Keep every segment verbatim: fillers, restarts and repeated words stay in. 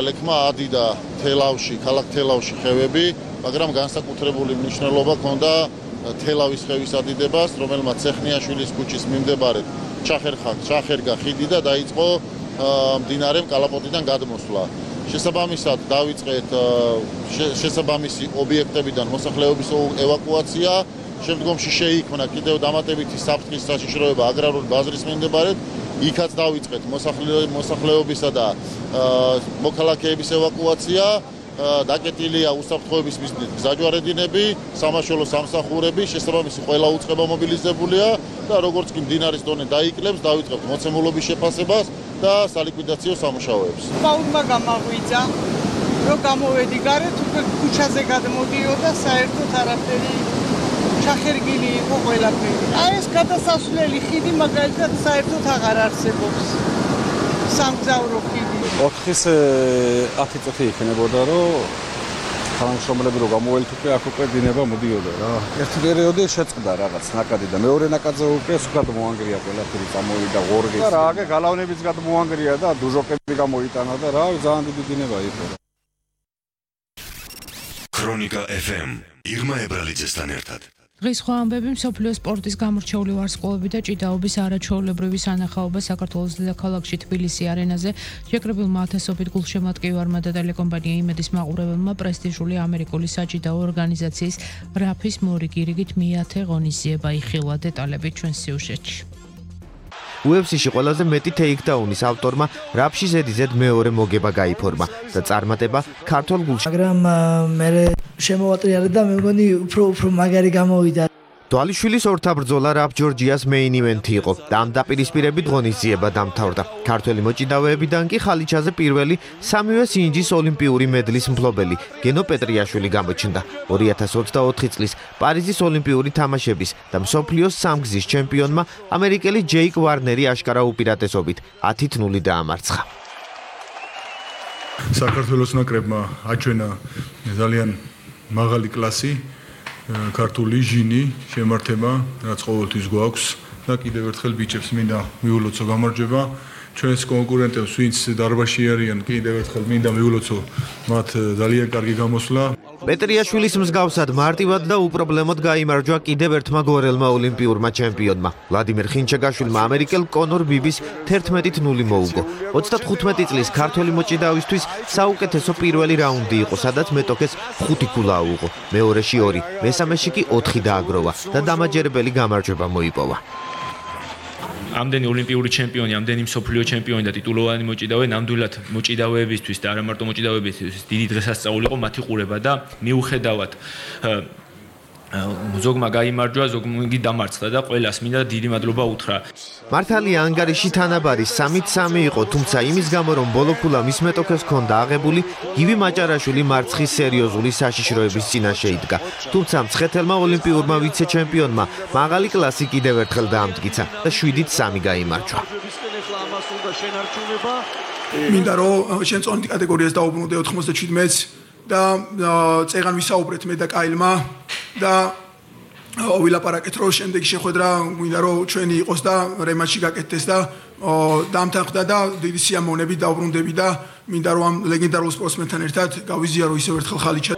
ლექმა ადიდა თელავში, ქალაქ თელავში ხევები, მაგრამ განსაკუთრებული მნიშვნელობა ჰქონდა თელავის ხევის ადიდებას, რომელმაც ცეხნიაშვილის ქუჩის მიმდებარედ ჩახერხა, ჩახერგა ხიდი და დაიწყო მდინარე კალაპოტიდან გადმოსვლა. შესაბამისად დავიწყეთ შესაბამისი ობიექტებიდან მოსახლეობის ევაკუაცია, შემდგომში შეიქმნა კიდევ დამატებითი საფრთხის საშიშროება აგრარული ბაზრის მიმდებარედ, იქაც დავიწყეთ მოსახლეობისა და მოქალაქეების ევაკუაცია, დაკეტილია უსაფრთხოების მიზნით გზაჯვარედინები, სამაშველო სამსახურები, შესაბამისი ყველა უწყება მობილიზებულია და როგორც კი მდინარის დონე დაიკლებს, დავიწყებთ მოცემულობის შეფასებას და სალიკვიდაციო სამუშაოებს. Პაულმა გამაღვიძა, რომ გამოვედი გარეთ, უკვე ქუჩაზე გადმოდიოდა, საერთოდ არაფერი ჩახერგილი იყო ყველაფერი. აი ეს გადასასვლელი ხიდი მაგალითად საერთოდ აღარ არსებობს. სამგზავრო ხიდი. ოთხის ათი წუთი იქნებოდა, რომ თანამშრომლები რო გამოველით უკვე აქ უკვე დინება მოდიოდა რა. ერთი პერიოდი შეწყდა რაღაც ნაკადი და მეორე ნაკადზე უკვე სულ მოანგრია ყველაფერი წამოვიდა ღორღი. და რა აგე გალავნებიც გადმოანგრია და დუჟოკები გამოიტანა და რა ძალიან დიდი დინება იყო. ქრონიკა ეფ ემ ირმა ებრალიძესთან ერთად. დღის სხვა ამბები მსოფლიოს სპორტის გამორჩეული ვარსკვლავები და ჭიდაობის არაჩვეულებრივი სანახაობა საქართველოს დედაქალაქში თბილისი არენაზე შეკრებილმა ათასობით გულშემატკივარმა და ტელეკომპანია იმედის მაყურებელმა პრესტიჟული ამერიკული საჭიდაო ორგანიზაციის რაფის მორიგირიგით მეათე ღონისძიება იხილა. დეტალები ჩვენ სიუჟეტში. იუ ეფ სი-ში ყველაზე მეტი ტეიქდაუნის ავტორმა რაფში ზედიზედ მეორე მოგება გაიფორმა და წარმატება ქართულ გულში. მაგრამ მე შემოვატრიალე და მე მგონი უფრო უფრო მაგარი გამოვიდა. დვალიშვილის ორთაბრძოლა რაფ ჯორჯიას მეინ ივენთი იყო და ამ დაპირისპირებით ღონისძიება დამთავრდა. ქართველი მოჭიდავეებიდან კი ხალიჩაზე პირველი სამივე სინჯის ოლიმპიური მედლის მფლობელი გენო პეტრიაშვილი გამოჩნდა. ორი ათას ოცდაოთხი წლის პარიზის ოლიმპიური თამაშების და მსოფლიოს სამგზის ჩემპიონმა ამერიკელი ჯეიკ ვარნერი აშკარა უპირატესობით ათით ნული დაამარცხა. საქართველოს ნაკრებმა აჩვენა ძალიან მაღალი კლასი ქართული ჟინი შემართება, რაც ყოველთვის გვაქვს და კიდევ ერთხელ ბიჭებს მინდა მიულოცო გამარჯვება. ჩვენს კონკურენტებს, ვინც დარბაზში არიან, კიდევ ერთხელ მინდა მიულოცო მათ ძალიან კარგი გამოსვლა. პეტრიაშვილის მსგავსად მარტივად და უპრობლემოდ გაიმარჯვა კიდევ ერთმა გორელმა ოლიმპიურმა ჩემპიონმა. ვლადიმერ ხინჩეგაშვილმა ამერიკელ კონორ ბიბის თერთმეტით ნული მოუგო. ოცდათხუთმეტი წლის ქართველი მოჭიდავისთვის საუკეთესო პირველი რაუნდი იყო, სადაც მეტოქეს ხუთი ქულა აუღო. მეორეში ორი, მესამეში კი ოთხი დააგროვა და დამაჯერებელი გამარჯვება მოიპოვა. ამდენი ოლიმპიური ჩემპიონი, ამდენი მსოფლიო ჩემპიონი და ტიტულოვანი მოჭიდავე ნამდვილად მოჭიდავეებისთვის და არა მარტო მოჭიდავეებისთვის დიდი დღესასწაული იყო მათი ყურება და მიუხედავად ზოგმა გაიმარჯვა, ზოგი დამარცხდა და ყველას მინდა დიდი მადლობა უთხრა. მართალია ანგარიში თანაბარი სამით სამი იყო, თუმცა იმის გამო რომ ბოლო ქულა მის მეტოქეს ჰქონდა აღებული, გივი მაჭარაშვილი მარცხის სერიოზული საშიშროების წინაშე იდგა. თუმცა მცხეთელმა ოლიმპიურმა ვიცე-ჩემპიონმა მაღალი კლასი კიდევ ერთხელ დაამტკიცა და შვიდით სამი გაიმარჯვა. მინდა რომ შენ წონით კატეგორიას დაუბრუნდე ოთხმოცდაჩვიდმეტს და წეგან ვისაუბრეთ მე და კაილმა და ვილაპარაკეთ რომ შემდეგ შეხვედრა მინდა რომ ჩვენი იყოს და რემატჩი გაკეთდეს და დამთანხმდა და დიდი სიამოვნებით დაუბრუნდები და მინდა რომ ამ ლეგენდარულ სპორტსმენთან ერთად გავიზიარო ისევ ერთხელ ხალიჩა.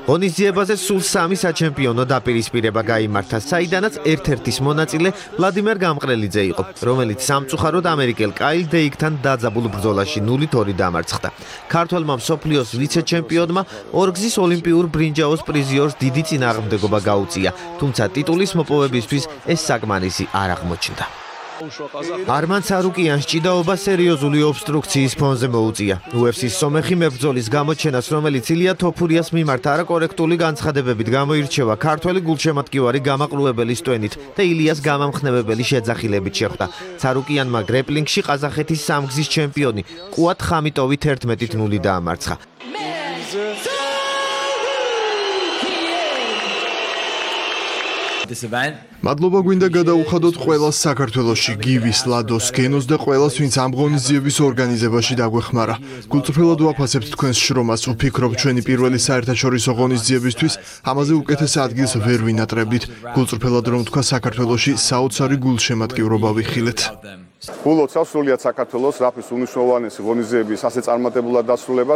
ღონისძიებაზე სულ სამი საჩემპიონო დაპირისპირება გაიმართა, საიდანაც ერთ-ერთის მონაწილე ვლადიმერ გამყრელიძე იყო, რომელიც სამწუხაროდ ამერიკელ კაილ დეიკთან დაძაბულ ბრძოლაში ნულით ორი დამარცხდა. ქართველმა მსოფლიოს ვიცე-ჩემპიონმა ორგზის ოლიმპიურ ბრინჯაოს პრიზიორს დიდი წინააღმდეგობა გაუწია, თუმცა ტიტულის მოპოვებისთვის ეს საკმარისი არ აღმოჩნდა. არმან ცარუკიანს ჭიდაობა სერიოზული ობსტრუქციის ფონზე მოუწია. იუ ეფ სი-ის სომეხი მებრძოლის გამოჩენას, რომელიც ილია თოფურიას მიმართ არაკორექტული განცხადებებით გამოირჩევა, ქართველი გულშემატკივარი გამაყრუებელის ტვენით და ილიას გამამხნევებელი შეძახილებით შეხვდა. ცარუკიანმა გრეპლინგში ყაზახეთის სამგზის ჩემპიონი კუათ ხამიტოვი თერთმეტით ნული დაამარცხა. მადლობა გვინდა გადაუხადოთ ყველას საქართველოში, გივის, ლადოს, გენოს და ყველას, ვინც ამ ღონისძიების ორგანიზებაში დაგვეხმარა. გულწრფელად ვაფასებთ თქვენს შრომას, ვფიქრობ ჩვენი პირველი საერთაშორისო ღონისძიებისთვის ამაზე უკეთეს ადგილს ვერ ვინატრებდით. გულწრფელად რომ თქვა საქართველოში საოცარი გულშემატკივრობა ვიხილეთ. გულოცავს სრულიად საქართველოს რაფის უნიშნულოვანესი ღონისძიების ასე წარმატებულად დასრულებას.